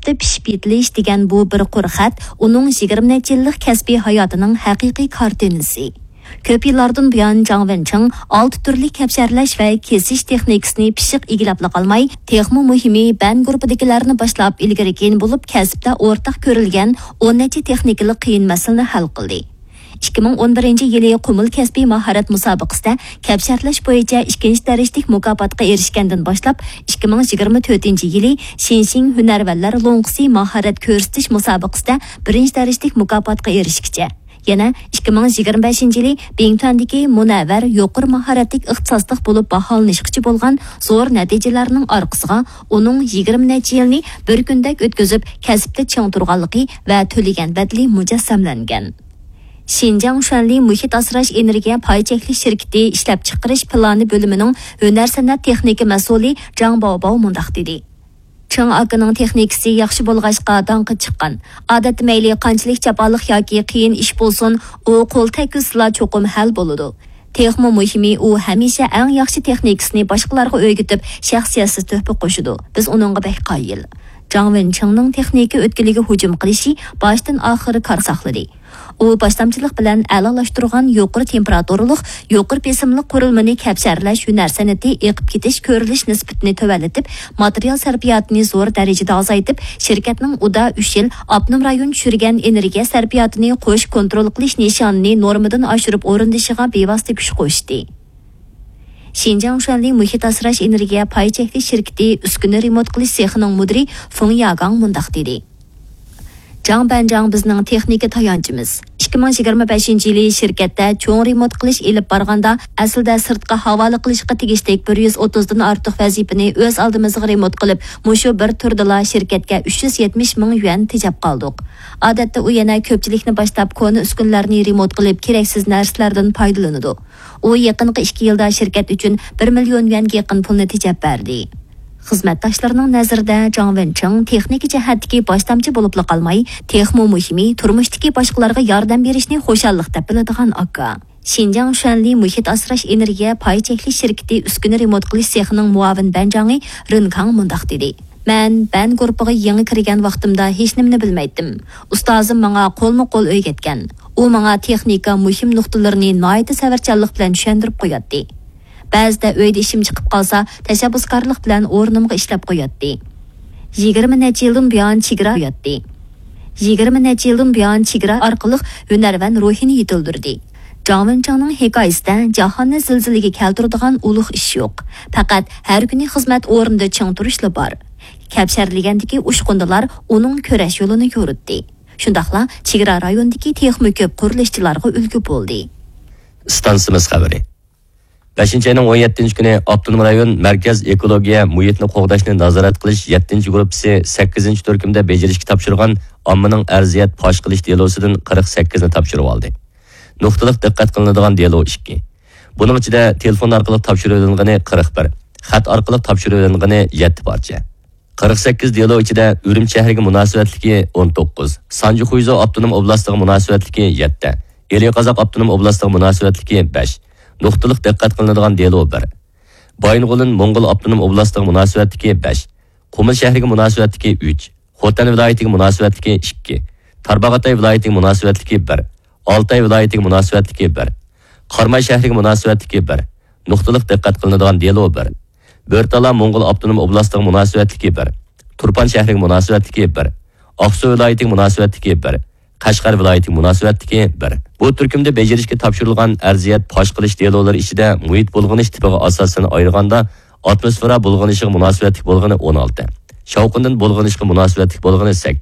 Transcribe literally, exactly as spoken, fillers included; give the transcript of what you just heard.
كەسىپتە پىشىپ يېتىلىش دېگەن بۇ بىر قۇر خەت ئۇنىڭ يىگىرمە نەچچە يىللىق كەسپىي ھاياتىنىڭ ھەقىقىي كارتىنىسى. كۆپ يىللاردىن بۇيان جاڭ ۋېنچىڭ ئالتە تۈرلۈك كەپشەرلەش ۋە كېسىش تېخنىكىسىنى پىششىق ئىگىلەپلا قالماي، تېخىمۇ مۇھىمى، بەن گۇرۇپپىدىكىلەرنى باشلاپ ئىلگىرى كېيىن بولۇپ، كەسىپتە ئورتاق كۆرۈلگەن ئون نەچچە تېخنىكىلىق قىيىن مەسىلىنى ھەل قىلدى. ئىككى مىڭ ئون بىرىنچى يىلى قۇمۇل كەسپىي ماھارەت مۇسابىقىسىدە كەپشەرلەش بويىچە ئىككىنچى دەرىجىلىك مۇكاپاتقا ئېرىشكەندىن باشلاپ، ئىككى مىڭ يىگىرمە تۆتىنچى يىلى شىنشىڭ ھۈنەرۋەنلەر لوڭقىسى ماھارەت كۆرسىتىش مۇسابىقىسىدە بىرىنچى دەرىجىلىك مۇكاپاتقا ئېرىشكىچە، يەنە ئىككى مىڭ يىگىرمە بەشىنچى يىلى بىڭتۈەندىكى مۇنەۋۋەر يۇقىرى ماھارەتلىك ئىختىساسلىق بولۇپ باھالىنىشقىچە بولغان زور نەتىجىلەرنىڭ ئارقىسىغا ئۇنىڭ يىگىرمە نەچچە يىلنى بىر كۈندەك ئۆتكۈزۈپ، كەسىپتە چىڭ تۇرغانلىقى ۋە تۆلىگەن بەدىلى مۇجەسسەملەنگەن. شىنجاڭ شۈەنلى مۇھىت ئاسراش ئېنېرگىيە پاي چەكلىك شىركىتى ئىشلەپچىقىرىش پىلانى بۆلۈمىنىڭ ھۈنەر سەنئەت تېخنىكا مەسئۇلى جاڭ باۋباۋ مۇنداق دېدى. چېڭ ئاكىنىڭ تېخنىكىسى ياخشى بولغاچقا داڭقى چىققان. ئادەتتە مەيلى قانچىلىك جاپالىق ياكى قىيىن ئىش بولسۇن، ئۇ قول تەگكۈزسىلا چوقۇم ھەل بولىدۇ. تېخىمۇ مۇھىمى، ئۇ ھەمىشە ئەڭ ياخشى تېخنىكىسىنى باشقىلارغا ئۆگىتىپ، شەخسىيەتسىز تۆھپە قوشىدۇ. بىز ئۇنىڭغا بەك قايىل. جاڭ ۋېنچىڭنىڭ تېخنىكا ئۆتكىلىگە ھۇجۇم قىلىشى باشتىن ئاخىر كار ساقلىدى. ئۇ باشلامچىلىق بىلەن ئەلالاشتۇرغان يۇقىرى تېمپېراتۇرىلىق، يۇقىرى بېسىملىق قۇرۇلمىنى كەپشەرلەش ھۈنەر سەنئىتى ئېقىپ كېتىش كۆرۈلۈش نىسبىتىنى تۆۋەنلىتىپ، ماتېرىيال سەرپىياتىنى زور دەرىجىدە ئازايتىپ، شىركەتنىڭ ئۇدا ئۈچ يىل ئاپتونوم رايون چۈشۈرگەن ئېنېرگىيە سەرپىياتىنى قوش كونترول قىلىش نىشانىنى نورمىدىن ئاشۇرۇپ ئورۇندىشىغا بىۋاسىتە كۈچ قوشتى. شىنجاڭ شۈەنلى مۇھىت ئاسراش ئېنېرگىيە پاي چەكلىك شىركىتى ئۈسكۈنە رېمونت قىلىش سېخىنىڭ مۇدىرى فېڭ ياگاڭ مۇنداق دېدى. جاڭ بەنجاڭ بىزنىڭ تېخنىكا تايانچىمىز. ئىككى مىڭ يىگىرمە بەشىنچى يىلى شىركەتتە چوڭ رېمونت قىلىش ئېلىپ بارغاندا، ئەسلىدە سىرتقا ھاۋالە قىلىشقا تېگىشلىك بىر يۈز ئوتتۇزدىن ئارتۇق ۋەزىپىنى ئۆز ئالدىمىزغا رېمونت قىلىپ، مۇشۇ بىر تۈردىلا شىركەتكە ئۈچ يۈز يەتمىش مىڭ يۈەن تېجەپ قالدۇق. ئادەتتە ئۇ يەنە كۆپچىلىكنى باشلاپ كونا ئۈسكۈنىلەرنى رېمونت قىلىپ، كېرەكسىز نەرسىلەردىن پايدىلىنىدۇ. ئۇ يېقىنقى ئىككى يىلدا شىركەت ئۈچۈن بىر مىليون يۈەنگە يېقىن پۇلنى تېجەپ بەردى. خىزمەتداشلىرىنىڭ نەزىرىدە جاڭ ۋېنچىڭ تېخنىكا جەھەتتىكى باشلامچى بولۇپلا قالماي، تېخىمۇ مۇھىمى، تۇرمۇشتىكى باشقىلارغا ياردەم بېرىشنى خۇشاللىق دەپ بىلىدىغان ئاكا. شىنجاڭ شۈەنلى مۇھىت ئاسراش ئېنېرگىيە پاي چەكلىك شىركىتى ئۈسكۈنە رېمونت قىلىش سېخىنىڭ مۇئاۋىن بەنجاڭى رېن كاڭ مۇنداق دېدى. مەن بەن گۇرۇپپىغا يېڭى كىرگەن ۋاقتىمدا ھېچنېمىنى بىلمەيتتىم. ئۇستازىم ماڭا قولمۇ قول ئۆگەتكەن. ئۇ ماڭا تېخنىكا مۇھىم نۇقتىلىرىنى ناھايىتى سەۋرچانلىق بىلەن چۈشەندۈرۈپ قوياتتى. بەزىدە ئۆيدە ئىشىم چىقىپ قالسا، تەشەببۇسكارلىق بىلەن ئورنۇمغا ئىشلەپ قوياتتى. يىگىرمە نەچچە يىلدىن بۇيان چېگرا قوياتتى. يىگىرمە نەچچە يىلدىن بۇيان چېگرا ئارقىلىق ھۈنەرۋەن روھىنى يېتىلدۈردى. جاڭ ۋېنچىڭنىڭ ھېكايىسىدە جاھاننى زىلزىلىگە كەلتۈرىدىغان ئۇلۇغ ئىش يوق. پەقەت ھەر كۈنى خىزمەت ئورنىدا چىڭ تۇرۇشلا بار. كەپشەرلىگەندىكى ئۇچقۇندىلار ئۇنىڭ كۈرەش يولىنى يورۇتتى. شۇنداقلا چېگرا رايونىدىكى تېخىمۇ كۆپ قۇرۇلۇشچىلارغا ئۈلگە بولدى. ئىستانسىمىز خەۋىرى. بەشىنچى ئاينىڭ ئون يەتتىنچى كۈنى ئاپتونوم رايون مەركەز ئېكولوگىيە مۇھىتنى قوغداشنى نازارەت قىلىش يەتتىنچى گۇرۇپپىسى سەككىزىنچى تۈركۈمدە بېجىرىشكە تاپشۇرغان ئاممىنىڭ ئەرزىيەت پاش قىلىش دېلوسىدىن قىرىق سەككىزنى تاپشۇرۇۋالدى. نۇقتىلىق دىققەت قىلىنىدىغان دېلو ئىككى. بۇنىڭ ئىچىدە تېلېفون ئارقىلىق تاپشۇرۇۋېلىنغىنى قىرىق بىر، خەت ئارقىلىق تاپشۇرۇۋېلىنغىنى يەتتە پارچە. قىرىق سەككىز دېلو ئىچىدە ئۈرۈمچى شەھىرىگە مۇناسىۋەتلىكى ئون توققۇز، سانجى خۇيزۇ ئاپتونوم ئوبلاستىغا مۇناسىۋەتلىكى يەتتە، ئىلى قازاق ئاپتونوم ئوبلاستىغا مۇناسىۋەتلىكى بەش، نۇقتىلىق دىققەت قىلىنىدىغان دېلو بىر، بايىنغولىن موڭغۇل ئاپتونوم ئوبلاستىغا مۇناسىۋەتلىكى بەش، قۇمۇل شەھىرىگە مۇناسىۋەتلىكى ئۈچ، خوتەن ۋىلايىتىگە مۇناسىۋەتلىكى ئىككى، تارباغاتاي ۋىلايىتىگە مۇناسىۋەتلىكى بىر، ئالتاي ۋىلايىتىگە مۇناسىۋەتلىكى بىر، قاراماي شەھىرىگە مۇناسىۋەتلىكى بىر، نۇقتىلىق دىققەت قىلىنىدىغان دېلو بىر، بۆرتالا موڭغۇل ئاپتونوم ئوبلاستىغا مۇناسىۋەتلىكى بىر، تۇرپان شەھىرىگە مۇناسىۋەتلىكى بىر، ئاقسۇ ۋىلايىتىگە مۇناسىۋەتلىكى بىر، قەشقەر ۋىلايىتىگە مۇناسىۋەتلىكى بىر. بۇ تۈركۈمدە بېجىرىشكە تاپشۇرۇلغان ئەرزىيەت پاش قىلىش دېلولىرى ئىچىدە مۇھىت بۇلغىنىش تىپىغا ئاساسەن ئايرىغاندا، ئاتموسفېرا بۇلغىنىشىغا مۇناسىۋەتلىك بولغىنى ئون ئالتە، شاۋقۇندىن بۇلغىنىشقا مۇناسىۋەتلىك بولغىنى سەككىز،